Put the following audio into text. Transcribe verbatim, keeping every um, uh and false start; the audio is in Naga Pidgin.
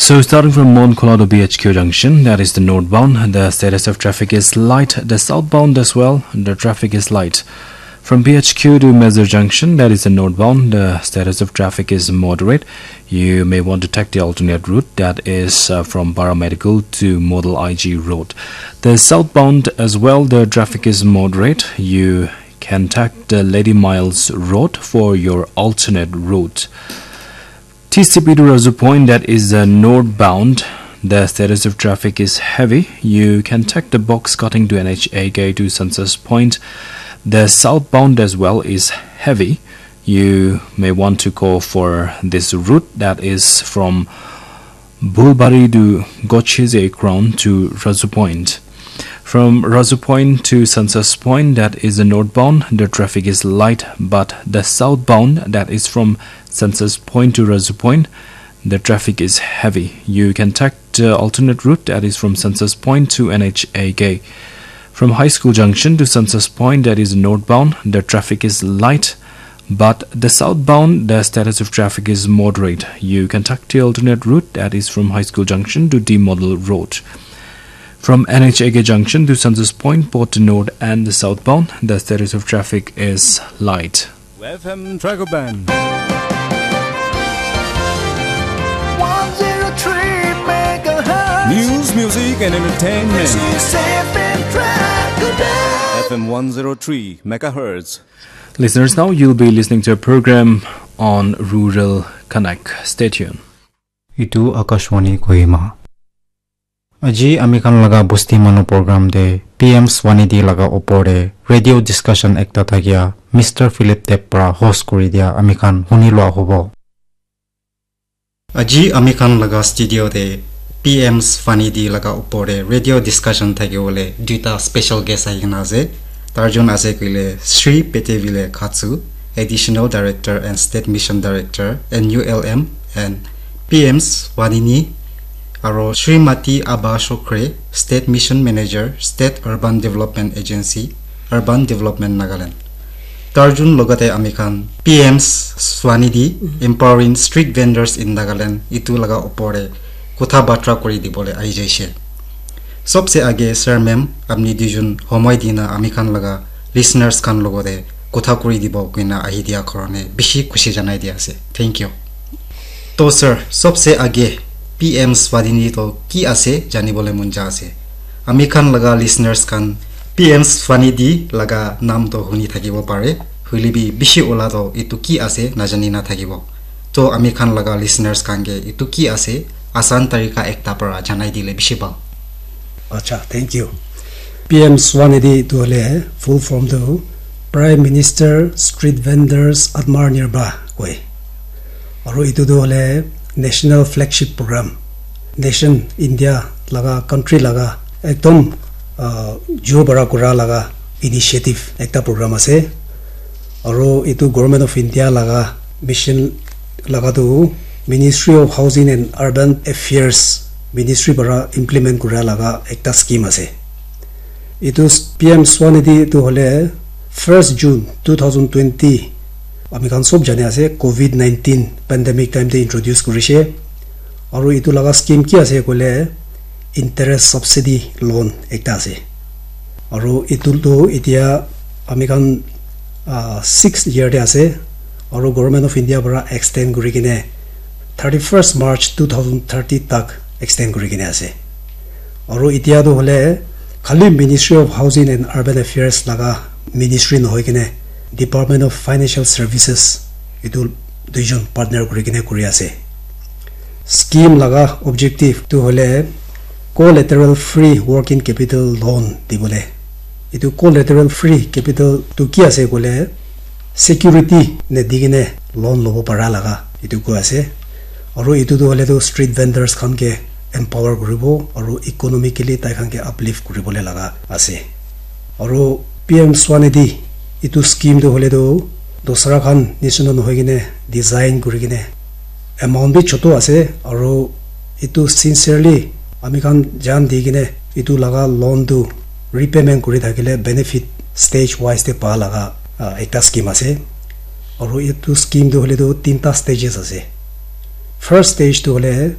So starting from Monkhola to B H Q junction, that is the northbound, the status of traffic is light. The southbound as well, the traffic is light. From B H Q to Mezur junction, that is the northbound, the status of traffic is moderate. You may want to take the alternate route, that is, uh, from Paramedical to Model I G Road. The southbound as well, the traffic is moderate. You can take the Lady Miles Road for your alternate route. T C P to Razu Point, that is the northbound. The status of traffic is heavy. You can take the box cutting to N H A K to Census Point. The southbound as well is heavy. You may want to go for this route, that is from Bulbari to Gocheze Crown to Razu Point. From Razu Point to Census Point, that is the northbound, the traffic is light, but the southbound, that is from Census Point to Razu Point, the traffic is heavy. You can take the alternate route, that is from Census Point to N H A K. From High School Junction to Census Point, that is northbound, the traffic is light, but the southbound, the status of traffic is moderate. You can take the alternate route, that is from High School Junction to D Model Road. From N H A K Junction to Census Point, both the north and the southbound, the status of traffic is light. F M Dragon Band. One zero three megahertz. News, music, and entertainment. This is F M Dragon Band. F M one zero three megahertz. Listeners, now you'll be listening to a program on Rural Connect. Stay tuned. Itu Akashvani Kohima. Aji ami khan laga Bosti Manu program te P M Swanidhi laga opor te radio discussion ekta thakia Mister Philip Deb pra host kuri dia ami khan huni lua hobo. Aji ami khan laga studio te P M Swanidhi laga opor te radio discussion thaki bole duita special guest ahi kena ase. Tarjun ase koile Sri Petevile Khatsu, Additional Director and State Mission Director, N U L M, and P M Swanini, aro Srimati Aba Shokre, State Mission Manager, State Urban Development Agency, Urban Development Nagaland. Tarjun logate ami khan P M Swanidhi, Empowering Street Vendors in Nagaland, itu laga opor te kotha batra kuri dibole ahi jaise. Sobse age, sir, ma'am, apni duijun homoi dina ami khan laga listeners khan logote kotha kuri dibo koina ahi dia karone bishi khushi janai dia ase. Thank you. To sir, sobse age P M Swanidhi to ki ase janibole mon ja ase. Ami khan laga listeners khan P M Swanidhi laga nam to huni thakibo pare, hoile bi bishi ola to itu ki ase najani na thakibo. To ami khan laga listeners khan ke itu ki ase, asan tarika ekta para janai dile bishi bhal. Acha, thank you. P M Swanidhi itu hole full form tu Prime Minister Street Vendors Atmanirbhar koi. Aru itu tu hole national flagship program. Nation India laga, country laga ekdom, ah, jur bara kura laga initiative ekta program ase. Aru itu Government of India laga mission laga tu Ministry of Housing and Urban Affairs Ministry para implement kura laga ekta scheme ase. Itu P M Swanidhi itu hole first June two thousand twenty, ami khan sob jane ase, covid nineteen pandemic time te introduce kurishe. Aru itu laga scheme ki ase koile interest subsidy loan ekta ase. Aru itu tu itia ami khan, ah, sixth year te ase. Aru Government of India para extend kuri kene thirty-first March two thousand thirty tak extend kuri kene ase. Aru itia tu hole khali Ministry of Housing and Urban Affairs laga ministry nohoi kene Department of Financial Services itu duijon partner kuri kene kuri ase. Scheme laga objective tu hole collateral free working capital loan dibole. Itu collateral free capital tu ki ase koile security ne di kene loan lobo para laga itu koi ase. Aru itu tu hole tu street vendors khan ke empower kuribo aru economically tai khan ke uplift kuribole laga ase. Aru P M Swanidhi itu scheme tu hole tu dusra khan nishina nohoi kene design kuri kene amount bi chotu ase aru itu sincerely ami khan jan di kene itu laga loan tu repayment kuri thakile benefit stage wise te pa laga, ah, ekta scheme ase. Aru itu scheme tu hole tu tinta stages ase. First stage tu hole